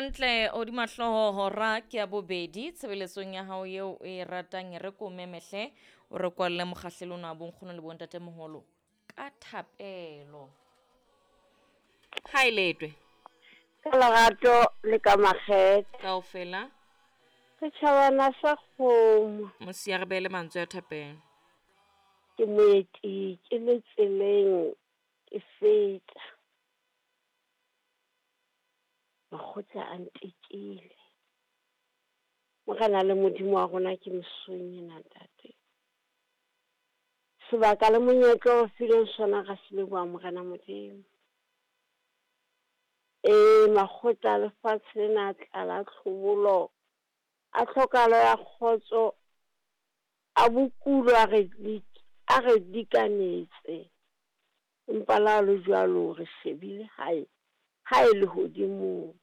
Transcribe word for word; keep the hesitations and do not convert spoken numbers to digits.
Hantle hodima hlooho hora ke ya bobedi tshebeletsong ya hao eo o e ratang e re ko memehle o re kwalle mokgahlelo ona wa bonkgono le bontatemoholo ka thapelo. Ha e letwe. Ka lerato le ka makgethe. Kaofela. Setjhabana sa kgomo. Mosia re beele mantswe a thapelo. Ke moeti ke le tseleng ke feta. Makgotla a ntekile. Morena le Modimo wa rona ke mesong ena ntate. Sebaka le monyetla o fileng sona ra se leboha Morena Modimo. Ee, makgotla a lefatshe lena a tlala tlhobolo, a tlhokahalo ya kgotso, a bokulo a re a re dikanetse. Empa le ha le jwalo re shebile hae, hae lehodimong.